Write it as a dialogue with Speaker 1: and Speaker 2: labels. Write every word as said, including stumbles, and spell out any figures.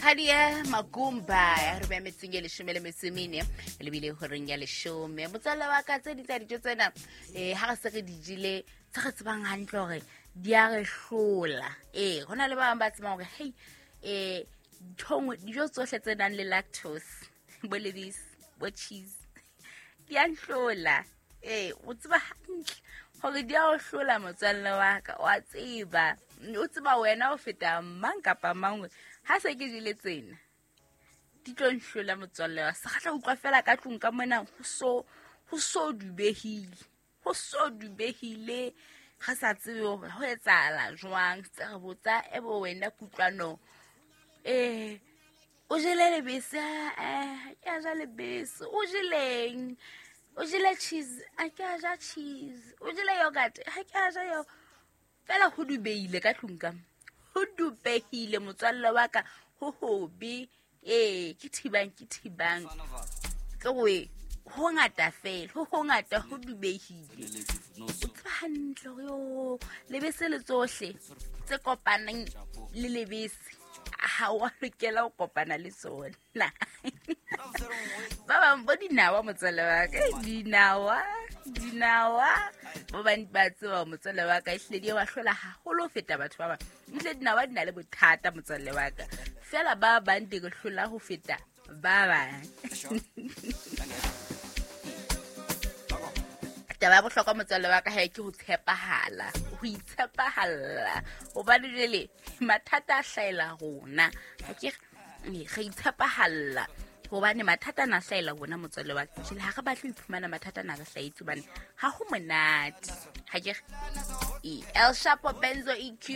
Speaker 1: Khadia Magumba ya re beha metsing e leshome le metso e mene lebile horeng ya leshome. Motswalle wa ka, tse di tsa dijo tsena um ha re se re di jele, tse re tsebang hantle hore di a re hlola. Ee, ho na le ba bang ba tsebang hore hei, um ntho nngwe, dijo tsohle tse nang le lactose, bo lebese, bo cheese, di a nhlola. Ee, o tseba hantle hore di a o hlola, motswalle wa ka, wa tseba, o tseba wena ho feta mang kapa mang hore ha se ke jele tsena di tlo nhlola, motswalle wa se kgatla utlwa fela ka tlung ka mona ho so ho so dubehile, ho so dubehile, re sa tsebe hore ho etsahala jwang. Tse re botsa ebe wena Kutlwano, eh o jele lebese? Eh, ke a ja lebese. O jeleng? O jele cheese? A ke a ja cheese. O jele yogurt? Ha ke a ja yo. Fela ho dubehile ka tlung ka, ho dubehile, motswalle wa ka, ho hobe. Ee, ke thibang, ke thibang ke gore ho ngata fela, ho hongata, ho dubehile. O tseba hantle hore yo lebese le tsohle tse kopanang le lebese ha wa lokela ho kopana le tsona. Ba bang bo dinawa, motswalle wa ka, dinawa, dinawa ba bang ba tseba, motswalle wa ka, ehlile di ba hlola haholo ho feta batho ba bang. Ehlile dinawa di na le bothata, motswalle wa ka, fela ba bang di re hlola ho feta ba bang. Taba ya bohlokwa, motswalle wa ka, hae ke ho tshepahala, ho itshepahalla, hobane jwale mathata a hlahela rona. Ha ke re re itshepahalla hobane mathata ana a hlahela rona, motswalle wa ka. Jwale ha re batle ho iphumana mathata ana a re hlahetse, hobane ha ho monate. Ha ke re El Shapo, Benzo E Q.